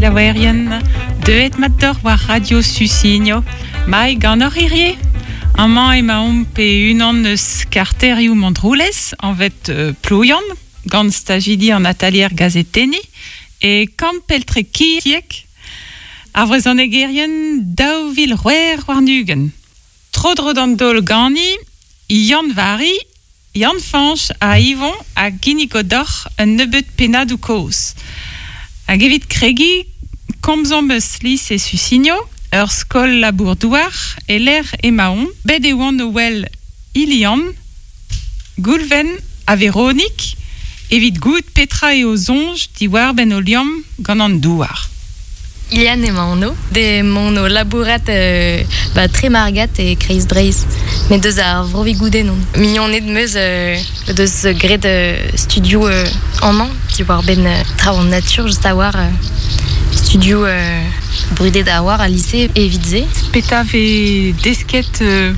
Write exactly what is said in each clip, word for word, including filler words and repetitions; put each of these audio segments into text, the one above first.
selaouerien, deuet mat d'or war Radio Sussigno, mai gant hor hirie. Amañ emaomp pe unan eus karterioù Montroulez, anvet euh, Plouian, gant stajidi an atalier gazetenni, e kamp peltre kiek, ar vrezhonegerien daou vil c'hwec'h warn-ugent. Tro-dro d'an daol gani, Yann Vari, Yann Fañch ha Yvon a ginnigo deoc'h un nebeud pennadoù kozh. Hag evit kregiñ, komzomp eus lise Sussigno, ur skol labour-douar, e lec'h emaon, bet e oan o wel Ilian, Goulven ha Véronique, evit goût petra eo soñj diwar ben o liamm gant an douar. Ilian emañ anv, de mon o labourat euh, ba Tremargat e Kreiz Breizh, met deus ar Vro-Vigoudenn on. Mignoned meus euh, deus graet euh, studio euh, amañ, diwar ben euh, traoù an natur just a war euh, studio euh, brudet a war a lycée evit se. Petra vez desket euh,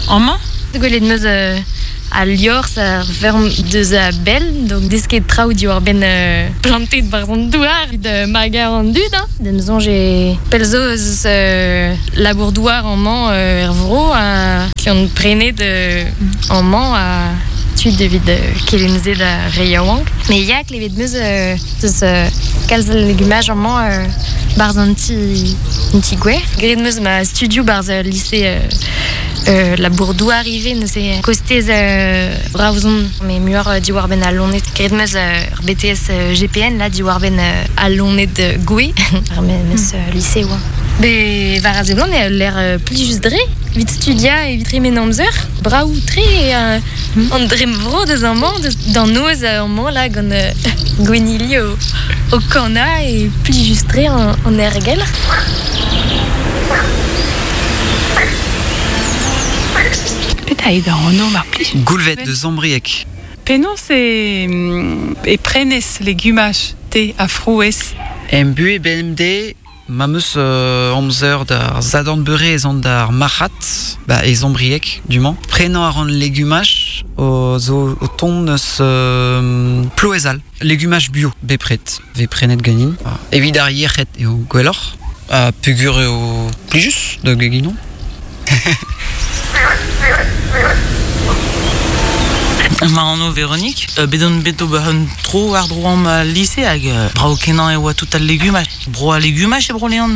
amañ? Gwelet meus euh, a liorzh ar ferm deus a bell, donc desket traoù diwar ben euh, plantet barzh an douar evit euh, magar an dud, hein. D'em soñj e pell zo eus euh, labour douar amañ euh, er vro a ki an prenet euh, amañ a tud evit euh, kelenn-se da re yaouank. Mais ya klevet meus euh, deus euh, kalz a legumaj amañ euh, barzh an ti, an ti gwer. Graet meus ma studio barzh euh, lycée euh, euh, labour douar ivez neuze kostez euh, Roazhon mais muioc'h euh, diwar ben al loened. Graet meus euh, ur B T S euh, G P N là diwar ben euh, al loened euh, gouez ar memes euh, lycée oa. Be war a seblant eo l'air euh, plijus dre, evit studia evit tremen amzer, brav tre euh, an drem vro deus amañ, deus d'an noz amañ là gant euh, gwennili o, o kana e plijus tre an, an ergel. Petra eo da anv mar plij? Goulvet deus Ambrieg. Penaos e, e prenez legumaj te ha frouezh? Em buhez B M D, ma meus euh, amzer d'ar zadorn beure ez an d'ar marc'had, ba, e Zambrieg, du mañ. Prenañ a ran legumaj o zo o tont eus euh, ploezal. Legumaj bio, bepred, ve prenet ganin. Evit ar yec'hed eo gwelloc'h, ha peogwir eo plijus da geginon. Ma anv Véronique, euh, bet on bet ober un tro war dro am lycée hag euh, brao kenañ e oa tout al legumaj. Bro a legumaj e bro leon.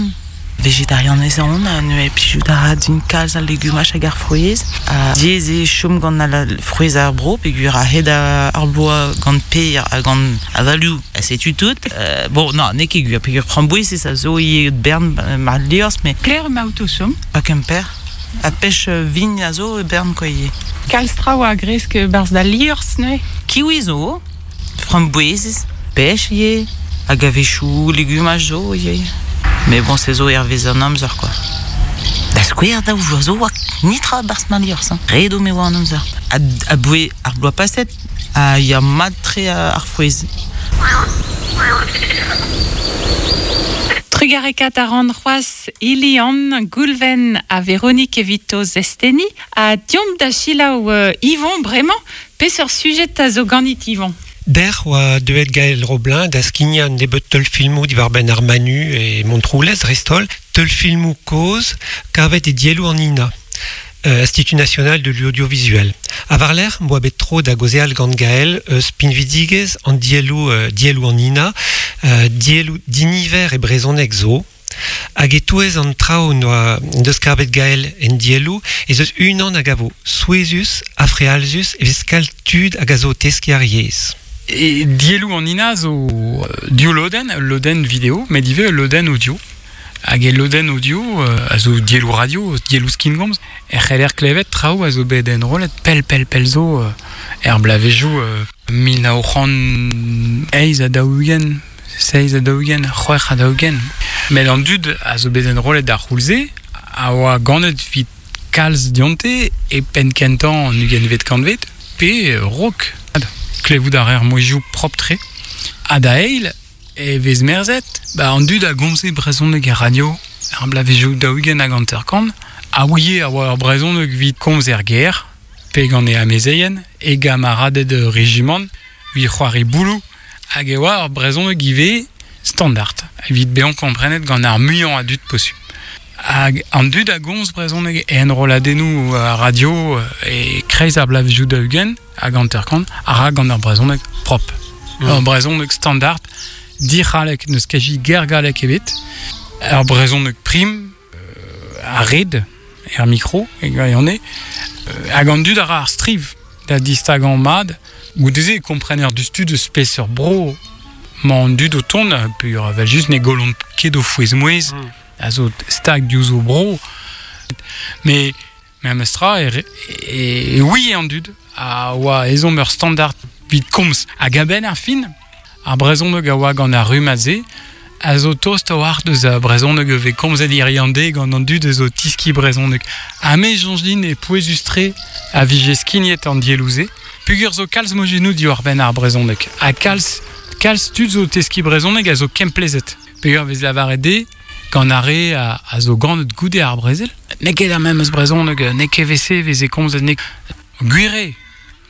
Vegetarian ez on, ne plijout a ra din kalz al legumaj hag ar frouezh. Ha diaes eo chom gant al frouezh ar bro, peogwir a hed ar bloaz gant per ha gant avalioù, ha setu tout. Euh, bon, non, n'eo ket gwir, peogwir framboez ez a zo ivez bern ma liorzh, mais Claire ma out o chom? Pa Kemper. A pech vign a zo e bern kwa ivez. Kalz traoù a gresk barzh da liorzh neuze? Kiwi zo, framboezez, pech ivez, hag a-wechoù legumaj zo ivez. Mais bon, se zo hervez an amzer, quoi. Da skouer daou vloaz zo oa nitra barzh ma liorzh, hein. Ret eo me oa an amzer. A, a boe ar bloaz paset, a ya mat-tre ar frouezh. Trugarekat a ran c'hoazh Ilian, Goulven ha Véronique evit o zesteni, ha diomp da selaou euh, Yvon bremañ, peseurt sujet a zo ganit Yvon? Der oa deuet Gaël Roblin da skignañ an nebeud teulfilmoù diwar benn ar Manu e Montroulez dreist-holl, teulfilmoù kozh kavet e dielloù an I N A, euh, Institut National de l'Audiovisuel. A war lerc'h, m'boa bet tro da gaozeal gant Gaël eus pinvidigezh an dielloù, euh, dielloù an I N A, euh, dielloù diniver e brezhoneg zo. Hag e-touez an traoù noa deus kavet Gaël en dielloù, ez eus unan hag a vo souezhus, ha frealzus, evit kalz tud hag a zo o teskiñ ar yezh. E dielloù an I N A zo div lodenn, ul lodenn vidéo, met ivez ul lodenn audio. Hag e lodenn audio, euh, a zo dielloù radio, dielloù skingomz, e c'heller klevet traoù a zo bet enrollet pell pell pell zo, euh, er blavezioù, euh, mil nav c'hant eizh ha daou-ugent, seizh ha daou-ugent, c'hwec'h ha daou-ugent. Met an dud a zo bet enrollet d'ar c'houlz-se a oa ganet evit kalz dionte e penn kentañ an ugentvet kantved pe rok. Klevout ar er mouezhioù propre-tre. Ha da eil, e vez merzet, ba an dud a gomze brezhoneg er radio, ar blavezioù daou-ugent hag hanter-kant, a ouie a oa ur brezhoneg evit komz er gêr, pe gant e amezeien, e gamaraded rejimant, evit c'hoari bouloù, hag e oa ur brezhoneg ivez Standard, evit bezañ komprenet gant ar muiañ a dud posupl. Hag an dud a gomz brezhoneg e enrolladennoù a radio e kreiz ar bloavezhioù daou-ugent hag hanter-kant a ra gant ar brezhoneg prop. Mm. Ur brezhoneg standard, dic'hallek n'eus kazi ger gallek ebet, ur brezhoneg prim, euh, a red, er mikro, e gwirionez, euh, hag an dud a ra ar striv da distagañ mat, goude-se e komprener diouzhtu deus peseurt bro 'mañ an dud o tont, peogwir evel just ne gollont ket o fouez-mouezh, mm. a zo stag diouzh o bro. Mais memestra e, e, e oui an dud a oa ezhomm ur standard evit komz. Hag a-benn ar fin, ar brezhoneg a oa gant ar rummad-se, a zo tost a-walc'h deus ar brezhoneg e vez komzet hiziv an deiz gant an dud eus o tiski brezhoneg. Ha me soñj din e pouezus-tre a vije skignet an dielloù-se. Peogwir zo kalz mojennoù diwar-benn ar brezhoneg. Ha kalz, kalz tud zo teski brezhoneg a zo kemplezhet. Peogwir vez lavaret dezhe gant ar re a, a zo ganet goude ar brezel. N'eo ket ar memes brezhoneg, n'eo ket evel-se veze komzet ne gwir eo.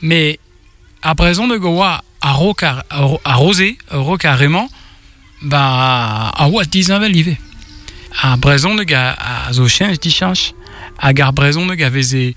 Mais ar brezhoneg a oa a-raok ar, a-raoze, a-raok ar re-mañ, ba a oa disheñvel ivez. Ar brezhoneg a, a zo cheñch dicheñch hag ar brezhoneg a veze